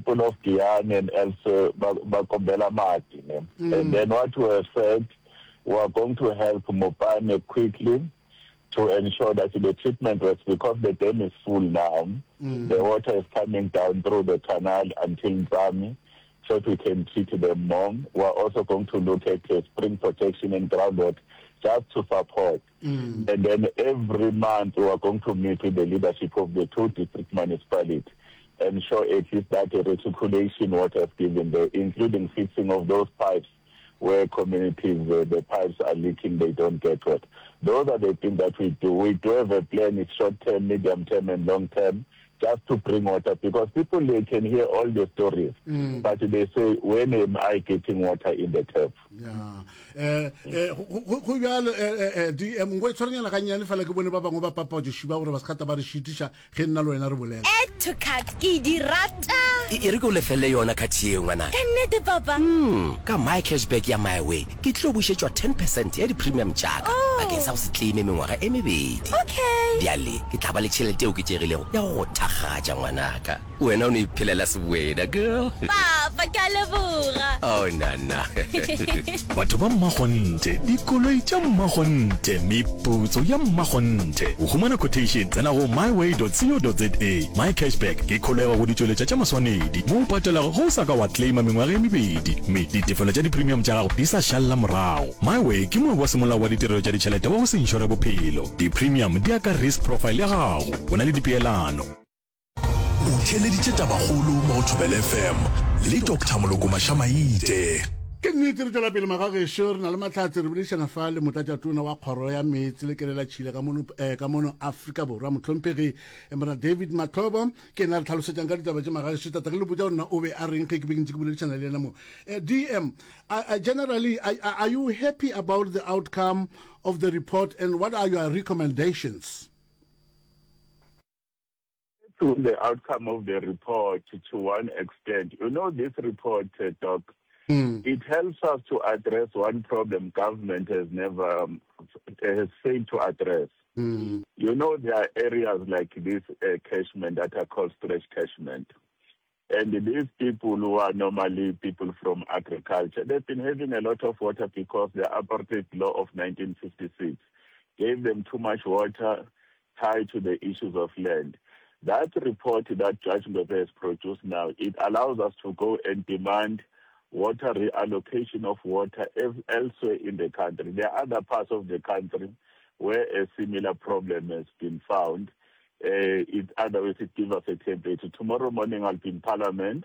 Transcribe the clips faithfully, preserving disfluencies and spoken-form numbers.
people of Giyani and elsewhere ba ba kombela mati ne. And then what we have said, we are going to help Mopani quickly to ensure that the treatment works because the dam is full now. The water is coming down through the canal until Ntsami so that we can treat them more. We are also going to look at uh, spring protection and groundwater just to support. Mm. And then every month we are going to meet with the leadership of the two district municipalities ensure at least that the reticulation water is given there, including fixing of those pipes where communities, uh, the pipes are leaking, they don't get water. Those are the things that we do. We do have a plan, it's short term, medium term, and long term, just to bring water because people, they can hear all the stories, mm. but they say, when am I getting water in the tap? Yeah. Eh, eh, go bjalo eh, D M nko e tshwarenyana gannyane fela ke bone ba bangwe ba papatšoši ba gore ba se kgata ba re šitiša ge nna le wena re bolela. Add to cart ke di rata. E e re ke o lefelle yona card yeo ngwanaka. Ka nnete papa? Hmm, ka My Cashback ya MiWay ke tlo bušetšwa ten percent ya di-premium tša ka Oh. bakeng sa go se claime mengwaga e mebedi. Okay. Bjale ke tla ba le tšhelete e oketšegilego ya go go thakgatša ngwanaka. Wena o no iphelela sewena girl. Papa, ke a leboga. Oh nana. Batho ba mmakgonthe, dikoloi tša mmakgonthe, meputso ya mmakgonthe. Go humana quotation, tsena go myway dot co dot za. My Cashback ke kholego go ditšweletša tša maswanedi mo o patelago ge o sa ka wa claima mengwaga e mebedi mme ditefelo tša di-premium tša gago di sa šalela morago. MyWay ke moabi wa semolao wa ditirelo tša ditšhelete wa go se inšore bophelo. Di-premium di ya ka risk profile ya gago. Go na le dipeelano. O theeleditše Tabakgolo mo go Thobela F M le Doctor Moloko Mašamaite. Ke nnete, re tšwela pele magagešo, re na le mahlatse, re boledišana fa le motlatšatona wa kgoro ya meetse le kelelatšhila ka mono eh, ka mono Afrika Borwa, mohlomphegi eh, mora David Mahlobo. Ke yena re tlhalosetšang ka ditaba tše magagešo. Tata ke le botša gore na o be a reng ge ke be ke ntse ke boledišana le yena mo. eh, D M, uh, uh, generally, are, are you happy about the outcome of the report and what are your recommendations? To the outcome of the report to one extent. You know, this report, uh, Doc, mm. it helps us to address one problem government has never, um, has failed to address. Mm. You know, there are areas like this uh, catchment that are called stretch catchment. And these people who are normally people from agriculture, they've been having a lot of water because the apartheid law of nineteen fifty-six gave them too much water tied to the issues of land. That report that Judge Ngoepe has produced now, it allows us to go and demand water reallocation of water elsewhere in the country. There are other parts of the country where a similar problem has been found. Uh, it, otherwise, it gives us a template. Tomorrow morning, I'll be in Parliament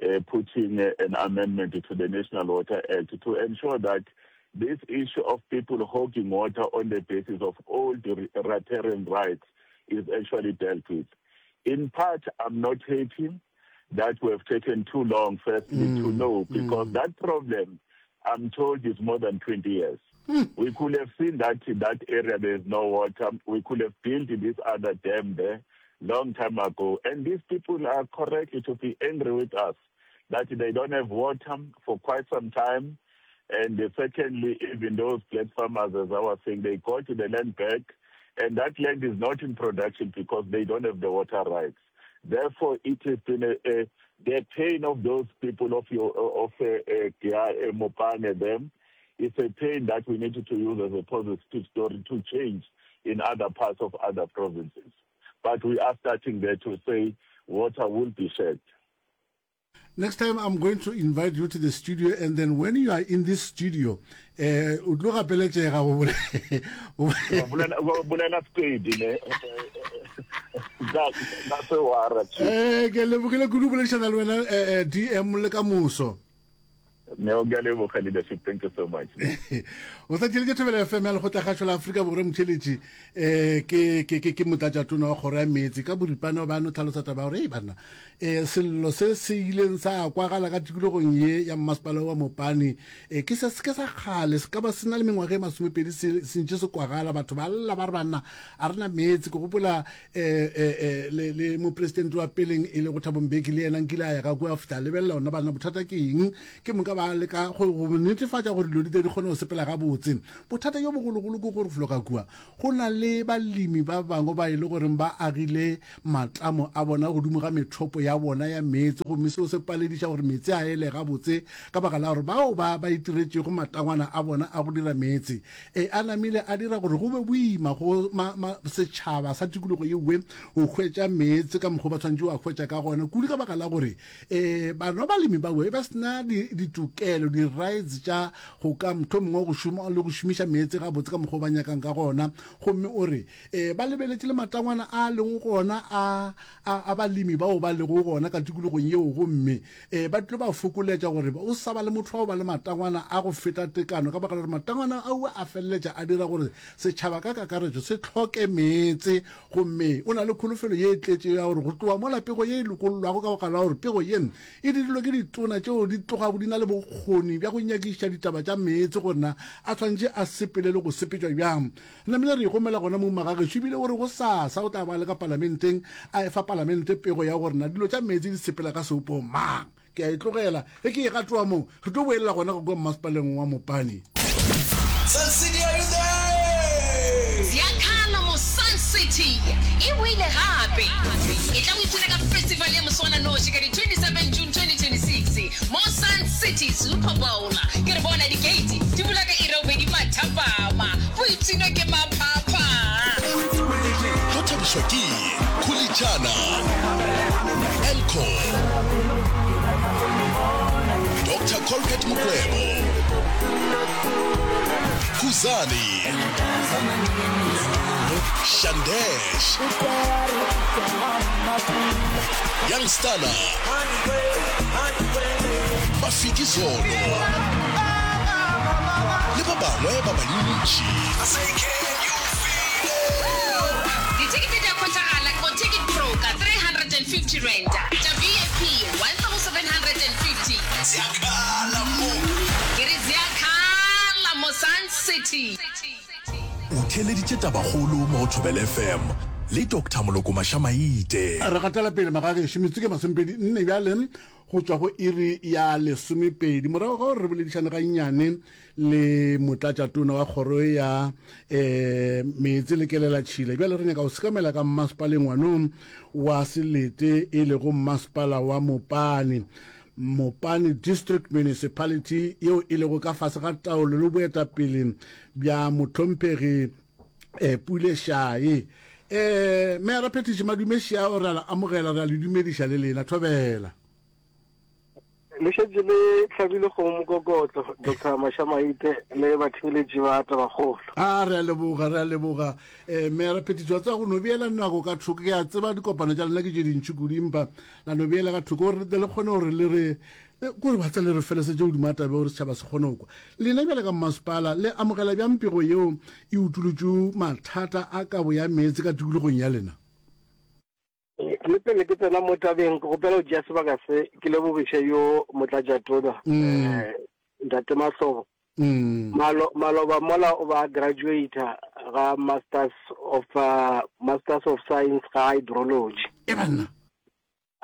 uh, putting uh, an amendment to the National Water Act to ensure that this issue of people hogging water on the basis of old riparian rights is actually dealt with. In part, I'm not happy that we have taken too long, firstly, mm, to know, because mm. that problem, I'm told, is more than twenty years. Mm. We could have seen that in that area there is no water. We could have built this other dam there long time ago. And these people are correctly to be angry with us that they don't have water for quite some time. And secondly, even those black farmers, as I was saying, they got the land back, and that land is not in production because they don't have the water rights. Therefore, it has been a, a, the pain of those people of your of uh, uh, Mopane them. It's a pain that we need to use as a positive story to change in other parts of other provinces. But we are starting there to say water will be shared. Next time I'm going to invite you to the studio, and then when you are in this studio, eh o tlo gapeletšega go bolela bolela Sepedi ne ka ka se wara. Eh ke lebogile kudu boledišana le wena, eh, eh, D M, le ka moso. Ne o ke a leboga, leadership, thank you so much. O sa tšheletše Thobela F M ya Lekgotlakgašo la Afrika Borwa. Motšheletši um ke ke ke ke motlatšatona wa kgoro ya meetse. Ka boripana o ba no tlhalosa taba ya gore ei banna, um sello se se ileng sa kwagala ka tikologong ye ya mmasepala wa Mopane um ke se ke sa kgale, se ka ba se na le mengwaga e masomepedi se se ntše se kwagala, batho ba lla ba re banna a rena meetse. Ke gopola um le le mopresidente wa peleng e le go Thabo Mbeki, le yena nkile a ya ka kua fihla lebelela ona banna bothata ke eng. Ke moka ba ba leka go go netefatša gore dilo di tle di kgone go sepela gabotse. Bothata bjo bogologolo ke gore felo ka kua go na le balemi ba bangwe ba e le goreng ba agile matamo a bona godimo ga methopo ya bona ya meetse, gomme seo se palediša gore meetse a ele gabotse ka baka la gore bao ba ba itiretšego matangwana a bona a go dira meetse e a namile a dira gore go be boima go ma, ma, setšhaba sa tikologo yewe go hwetša meetse ka mokgwa ba tshwanetše go a hwetša ka gona, kudu ka baka la gore um bana balemi bawe ba sena ditokelo, di-rights tša go ka motho mongwe go šoma le go šomiša meetse gabotse ka mokgwa ba nyakang ka gona. Gomme o re um ba lebeletše le matangwana a leng gona a, a, a balemi bao ba lego gona ka tikologong yeo, gomme um ba tlo ba fokoletša gore o sa ba le motho wa go ba le matangwana a go feta tekano, ka baka la gore matangwana ao a feleletša a dira gore setšhaba ka kakaretšo se hloke meetse. Gomme o na le kholofelo ye e tletšego ya gore go tloga mola pego ye e lokollwago, ka baka la gore pego ye e dirilwe ke ditona tšeo di tlogago di na le bokgoni bja go nyakišiša ditaba tša meetse gore na a tshwanetše a sepele le go sepetšwa bjang. Namile re igomela gona mo magagešo, ebile o re go sasa o tla ba le ka palamenteng a efa palamente pego ya gore na dilo tša meetse di sepela ka seopo mang. Ke a e tlogela ge ke e gatoa mo, re tlo boelela gona go kwa mmasepaleng wa Mopani. Sun City, are you there? Ziakhala mo Sun City e boile gape. E tla o ipshina ka festival ya moswananoši ka di twenty-seven June twenty twenty-six mo Sun City Super Bowl. Ke re bona di-gate di bula ka iri ya bobedi mathapama. Boipshino ke maphapha. Go thabišwa ke Khulichana, Elco, Doctor Colbert Mokwebo, Khuzani, Shandesh, Young Stunna, Mafiki Zolo le ba bangwe ba bantši. Dithekete di a hwetšagala go Ticket Pro ka three hundred and fifty rand, tša V I P one thousand hundred and fifty. Ziakhala mo. Ke re ziakhala mo Sun City. O theeleditše tabakgolo mo go Thobela F M le Doctor Moloko Mašamaite. Re gatela pele magagešo, metsotso ke masomepedi nne bjale go tšwa go iri ya lesomepedi, morago ga gore re boledišane gannyane le motlatšatona wa kgoro ya um meetse le kelelatšhila. Bjale re nyaka go sekamela ka mmasepaleng wanong wa selete, e lego mmasepala wa Mopani, Mopani District Municipality, yeo e lego ka fase ga taolo le boetapele bja mohlomphegi eh, Pule Shaye. Eh, Meyara Phetiši Madume Shia, re a le amogela, re a le dumediša le lena. Thobela. Le šetše le hlabile kgomo mokokotlo, Doctor Mašamaite le batheeletši ba Tabakgolo. A re a leboga, re a leboga. Eh, Meyara Phetiši, wa tseba go no beela nako ka thoko, ke a tseba dikopano tša lena ke tše dintši kudu, empa la no beela ka thoko gore le kgone gore le re kore ba tsa le re felesetše godimo ga taba gore setšhaba se kgone go kwa. Lena bjale ka mmasepala le amogela bjang pego yeo e utolotšego mathata a kabo ya meetse ka tikologong ya lena? Le pele ke tsena mo tabeng, ke gopela go tšea sebaka se ke lebogiše yo motlatšatona eh, Ntate Mahlobo. Malo, maloba mola o ba graduate ga Masters of uh, Masters of Science ga Hydrology. E banna.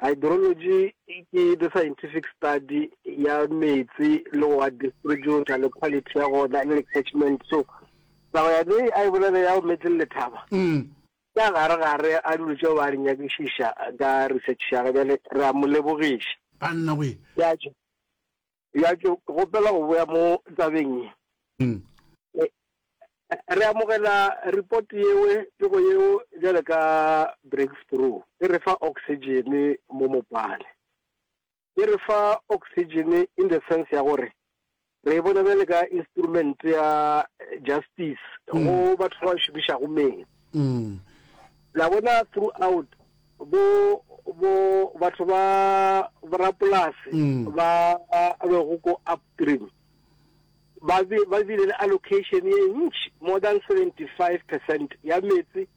Hydrology ke the scientific study ya metsi le go a distribute le quality ya gona le catchment. So taba ya ne a e bolela ya metsi le lethaba. Mm. Ka gare gare a dilo tšeo ba di nyakišiša ka research ya gage, bjale re a mo lebogiša. Banna we. Ya tšo, ya tšo, ke gopela go boya mo tabeng ye. Mm. Re amogela report yewe, pego yeo bjale ka breakthrough. E re fa oxygen mo Mopane. E re fa oxygen in the sense ya gore re e bona bjale ka instrument ya justice go batho ba šomišago metsi. Mm. La bona throughout bo bo batho ba borapolase Mm. ba bego ko upstream ba be ba bile le allocation ye ntši, more than seventy-five percent ya metsi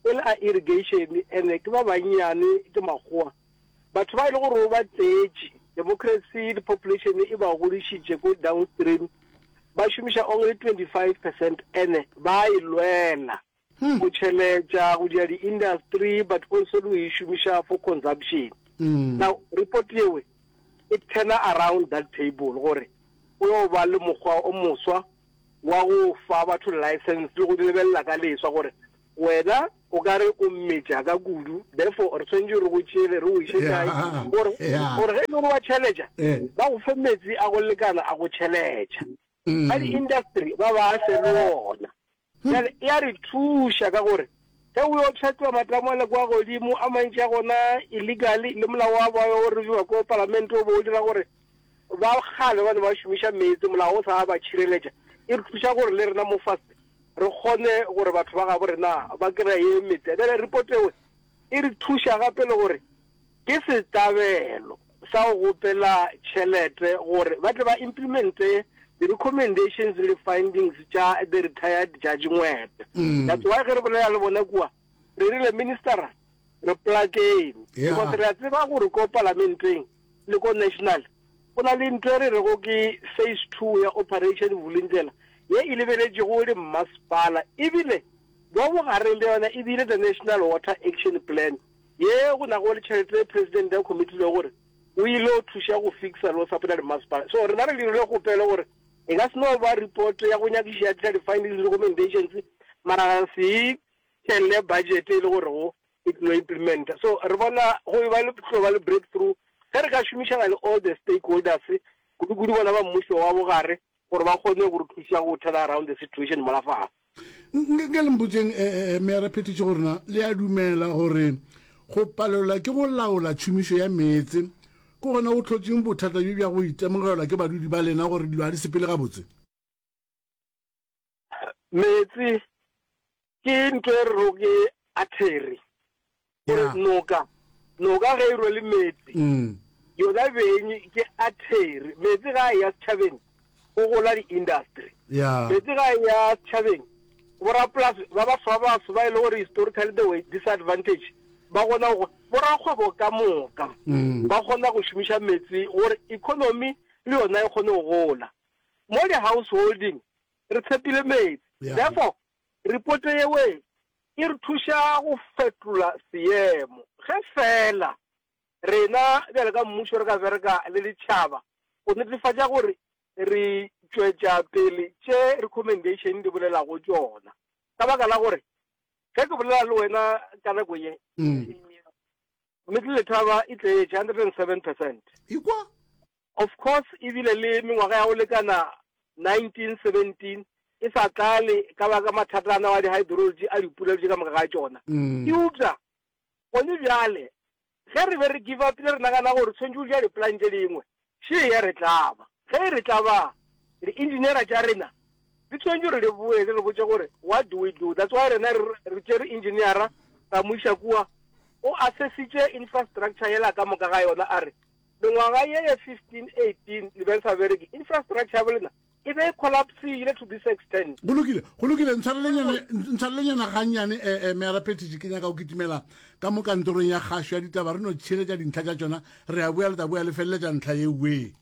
e le a irrigation, ene ke ba bannyane ke makgowa. Batho ba e le gore ba tseetše democracy le population e ba godišitše ko downstream, ba šomiša only twenty-five percent, ene ba e lwela go tšheletša go dira di-industry, but also le go e šomiša for consumption. Mm. Now report yewe e turn around that table gore go yo ba le mokgwa o moswa wa go fa batho license le go di lebelela ka leswa gore wena o ka re o metša ka kudu, therefore re tshwanetše re go tšeele re o iše kae gore gore ge e le gore wa tšheletša ba go fe metsi a go lekana a go tšheletša. Ba di-industry ba ba fe le ona. Bjale e a re thuša ka gore ge o yo pšhatliwa matamo ale kwa godimo, a mantši a gona illegally, le molao wa ba o reviwa ko palamente o bo o dira gore ba kgale ba ne ba šomiša meetse, molao o sa ba tšhireletša. E re thuša gore le rena mo fase re kgone gore batho ba gabo rena ba kry-e meetse. Bjale report eo e re thuša gape le gore ke setlabelo sa go gopela tšhelete gore ba tle ba implemente the recommendations le findings tša the retired Judge Ngwete. That's why ge re bolela le bona kua re rile minister re plakeng because re a tseba gore ko palamenteng le ko national go na le ntho e re rego ke phase two ya Operation Vulindlela ye e lebeletšego le mmasepala ebile mo bogareng bja yona e bile the National Water Action Plan ye go nago le tšhelete e president a committilego gore o ile o thuša go fixa le go support-a dimmasepala. So rena re dirile kgopelo gore e ka se no ba report ya go nyakišiša ya tliša di-findings le recommendations mara ra se tšhelle budget e le gore go e tlilo implementa. So re bona go e ba le tlo ba le breakthrough ge re ka šomišana le all the stakeholders kudu-kudu bona ba mmušo wa bogare gore ba kgone go re thuša go turn around the situation mola fase. Nke le mpotšeng, eh, eh, Meyara Phethiši, gore na le a dumela gore go palelwa ke go laola tšhomišo ya meetse ke gona go hlotšeng bothata bjo bja go itemogelwa ke badudi ba lena gore dilo ga di sepele gabotse? Meetse ke ntho e re rego ke artery, gore Yeah. noka, noka ge e rwele meetse, Mm. yona beng ke artery. Meetse ga a eya setšhabeng, go gola di-industry. Yeah. Meetse ga a eya setšhabeng, borapolase ba baso ba baso ba e le gore historically they were disadvantaged, ba kgona go, borakgwebo ka moka Mm. ba kgona go šomiša meetse gore economy le yona e kgone go gola. Mo di-householding re tshepile meetse. Yeah. Therefore, report yewe e re thuša go fetola seemo. Ge fela rena bjale ka mmušo re ka bereka le ditšhaba go netefatša gore re tšwetša pele tše recommendation di bolelago tšona. Ka baka la gore ge ke bolela le wena ka nako ye, Mm. Middle Letaba e tletše hundred and seven percent. Ikwa? Of course e bile le mengwaga ya go lekana nineteen seventeen e sa tlale ka baka mathata ana wa di-hydrology a dipula tše ka moka ga tšona. Mm. Eupša gone bjale ge re be re give up le re nagana gore tshwanetse go ja di-plan tše dingwe, še ya re tlaba. Ge e re tlaba, di-engineera tša rena di tshwanetse gore di boe di re botše gore what do we do. That's why rena re, re tšere engineera ra mo iša kua, o assessitše infrastructure yela ka moka ga yona, a re mengwaga ye ya fifteen eighteen le be le sa bereke, infrastructure ya bolena e be e collapsile to this extent. Go lokile, go lokile, ntshwarelenyana, ntshwarelenyana gannyane, eh, eh, Meyara Phethiši, ke nyaka go kitimela ka mo kantorong ya kgašo ya ditaba, re no tšhireletša dintlha tša tšona, re a boya, le tla boya le feleletša ntlha ye we.